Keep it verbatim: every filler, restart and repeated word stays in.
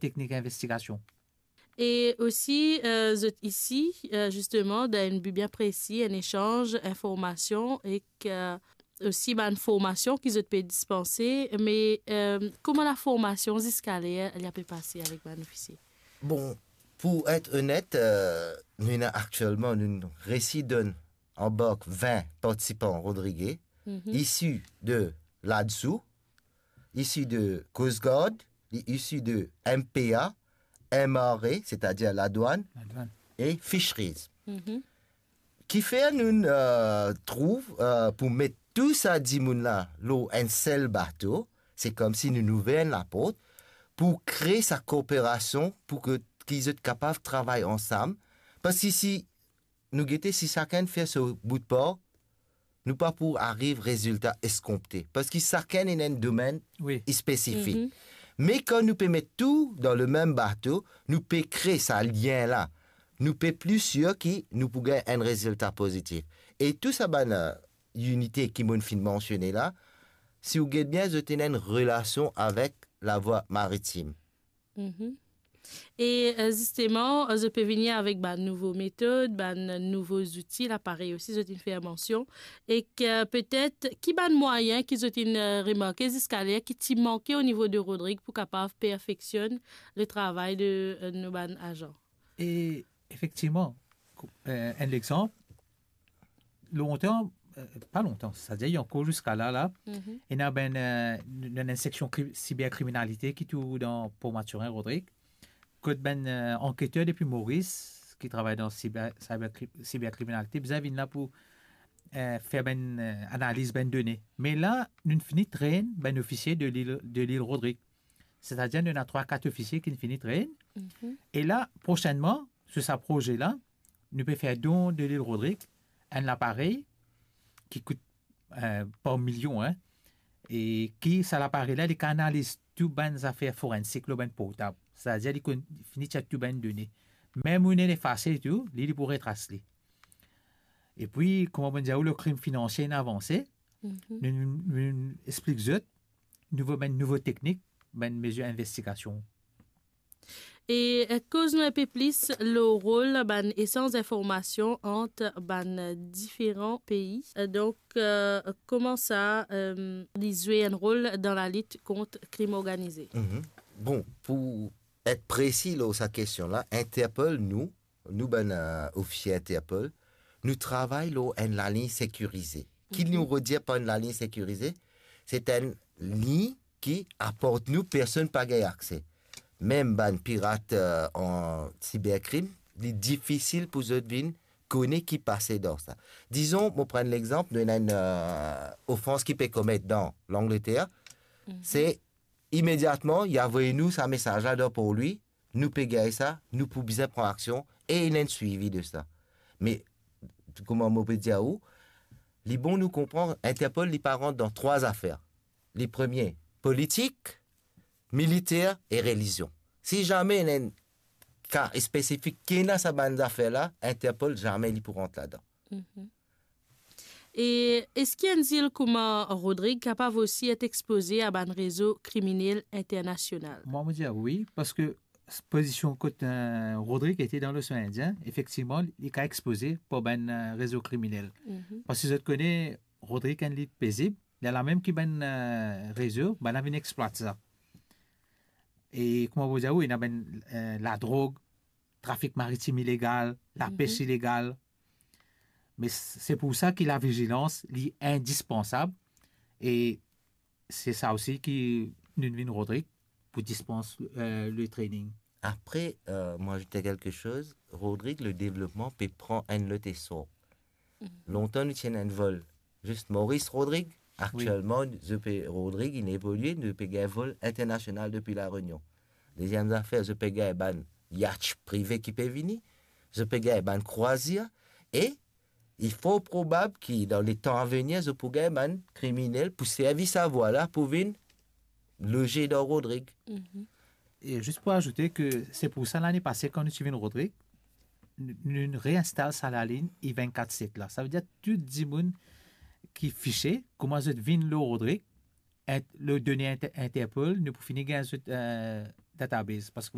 teknik investigasion. E osi, eh, zot isi, eh, zisteman, dan enn bi bien presi, enn esanz informasion ek, eh, osi bann formasion ki zot pe dispanse, me, eh, kouma laformasion ziska ler li ape pase avek bann ofisie? Bon, pou et onet, eh, nou ena aktielman, nou resi donn anbark vin partisipan Rodrig, isi de LADSU, isi de Coast Guard, li isi de M P A, M R A, setadir ladwann, Ladwann. E Fisheries. Kifer nou, eh, trouv, eh, pou met tou sa dimoun la lor enn sel bato, se koumsi nou, nou ouver enn laport pou kre sa kooperasion, pou ke, ki zot kapav travay ansam. Parski si nou gete, si sakenn fer so bout par, nou pa pou ariv rezilta eskonpte, parski sakenn ena enn domenn Wi. spesifik. Me kan nou pe met tou dan lemem bato, nou pe kre sa lien la, nou pe pli sir ki nou pou gagn enn rezilta pozitif. E tou sa bann, eh, inite ki mo'nn finn mansione la, si ou get bien, zot ena enn relasion avek lavwa maritim. E, eh, zisteman, eh, zot pe vini avek bann nouvo metod, bann nouvo zouti, laparey osi, zot inn fer mansion. Ek, eh, petet, ki bann mwayin ki zot inn, eh, remarke ziska ler ki ti manke o nivo de Rodrig pou kapav perfeksionn le travay de, eh, nou bann azan? E efektivman, kou-, eh, enn lexanp, lontan, eh, pa lontan, setadir ankor ziska la, la, ena bann, eh, n-, n-, enn seksion kri-, siberkriminalite ki tou dan Port Mathurin, Rodrig, kot bann, eh, anketer depi Moris, ki travay dan siber, siber kri-, siberkriminalite, bizin vinn la pou, eh, fer bann, eh, analiz bann done. Me la, nou fini trenn bann ofisie de lil, de lil Rodrig. Setadir, nou ena trwa, kat ofisie ki fini trenn. E la, prosennman, sou sa proze la, nou pe fer don de lil Rodrig, enn laparey ki kout, eh, par milion, en, e ki sa laparey la, li kapav analiz tou bann zafer forensik lor bann portab. Setadir, li konn, fini tir tou bann done. Mem ou ena efase tou, li, li pou retras li. Epi, kouma mo dir ou, lekrim finansie inn avanse, nou, nou, nou explik zot, nouvo, bann nouvo teknik, bann mezir investigasion. E, eh, koz nou enpe plis lor rol bann esanz informasion ant bann diferan pei. Eh, donk, eh, kouma sa, eh, li zwe enn rol dan lalit kont krim organize? Bon, pou et presi lor sa kestion la, Interpol, nou, nou bann, eh, ofisie Interpol, nou travay lor enn laliny sekirize. Ki nou redir par enn laliny sekirize? Se enn liny ki apart nou, personn pa gagn akse. Mem bann pirat, eh, an siberkrim, li difisil pou zot vinn kone ki pase dan sa. Dizon, mo pran lexanp, nou ena enn, eh, ofans ki pe komet dan Langleter, se imediatman, li avoy nou sa mesaz la dan par lwi, nou pe gagn sa, nou pou bizin pran aksion, e ena enn swivi de sa. Me, kouma mo pe dir ou, li bon nou konpran, Interpol, li pa rant dan trwa zafer. Li premie, politik, militer e relizion. Si zame ena enn ka spesifik ki ena sa bann zafer la, Interpol zame li pou rant ladan. E eski enn zil kouma Rodrig kapav osi et expoze a bann rezo kriminel internasional? Mwa, mo dir wi, parski s-, pozision kot, eh, Rodrig ete dan Losean Indien, efektivman, li kapav expoze par bann, eh, rezo kriminel. Parski zot kone, Rodrig enn lil pezib, li ena lamem ki bann, eh, rezo, bannla vinn explwat sa. E kouma mo dir ou, ena bann, eh, ladrog, trafik maritim ilegal, lapes ilegal. Me s-, se pou sa ki lavizilans, li indispansab. E se sa osi ki nou vinn Rodrig pou dispans, eh, le training. Apre, eh, mo azout kelke soz, Rodrig, le devlopman pe pran enn lot esor. Lontan nou ti ena enn vol zis Moris Rodrig, aktielman, zot pe Rodrig, inn evolie, nou pe gagn vol internasional depi La Rényon. Deziem zafer, zot pe gagn bann yacht prive ki pe vini, zot pe gagn bann krwazir, e li for probab ki dan letan avenir, zot pou gagn bann kriminel pou servi sa vwa la pou vinn loze dan Rodrig. E zis pou azoute ke se pou sa lane pase, kan nou ti vinn Rodrig, nou, nou reinstal sa laliny I vennkat set la. Savedir tou dimoun ki fise, kouma zot vinn lor Rodrig, ent-, lor done Inter-, Interpol, nou pou fini gagn zot, eh, database. Parski